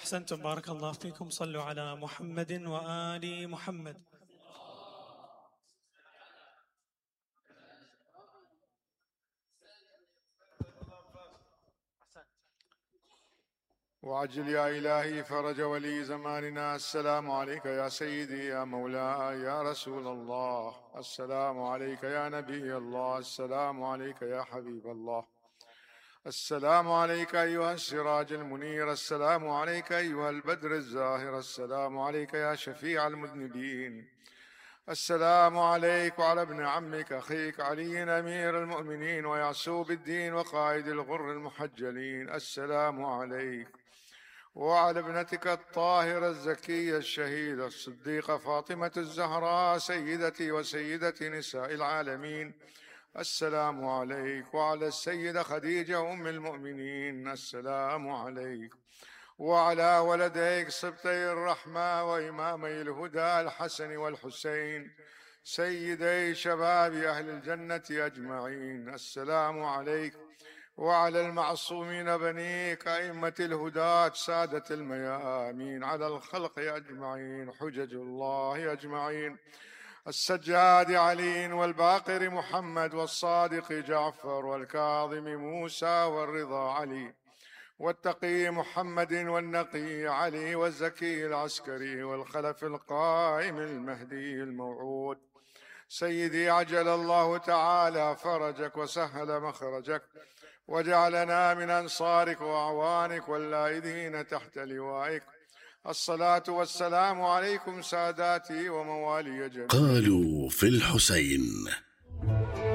أحسنتم بارك الله فيكم. صلوا على محمد وآل محمد. وعجل يا إلهي فرج ولي زماننا. السلام عليك يا سيدي يا مولاي يا رسول الله. السلام عليك يا نبي الله. السلام عليك يا حبيب الله. السلام عليك أيها السراج المنير. السلام عليك أيها البدر الزاهر. السلام عليك يا شفيع المذنبين. السلام عليك وعلى ابن عمك أخيك علي أمير المؤمنين ويعسوب الدين وقائد الغر المحجلين. السلام عليك وعلى ابنتك الطاهرة الزكية الشهيدة الصديقة فاطمة الزهراء سيدتي وسيدة نساء العالمين. السلام عليك وعلى السيدة خديجة أم المؤمنين. السلام عليك وعلى ولديك سبطي الرحمة وإمامي الهدى الحسن والحسين سيدي شباب أهل الجنة أجمعين. السلام عليك وعلى المعصومين بنيك أئمة الهداة سادة الميامين على الخلق أجمعين حجج الله أجمعين. السجاد علي والباقر محمد والصادق جعفر والكاظم موسى والرضا علي والتقي محمد والنقي علي والزكي العسكري والخلف القائم المهدي الموعود. سيدي عجل الله تعالى فرجك وسهل مخرجك وجعلنا من أنصارك وأعوانك واللائذين تحت لوائك. الصلاة والسلام عليكم ساداتي وموالي جميعا. قالوا في الحسين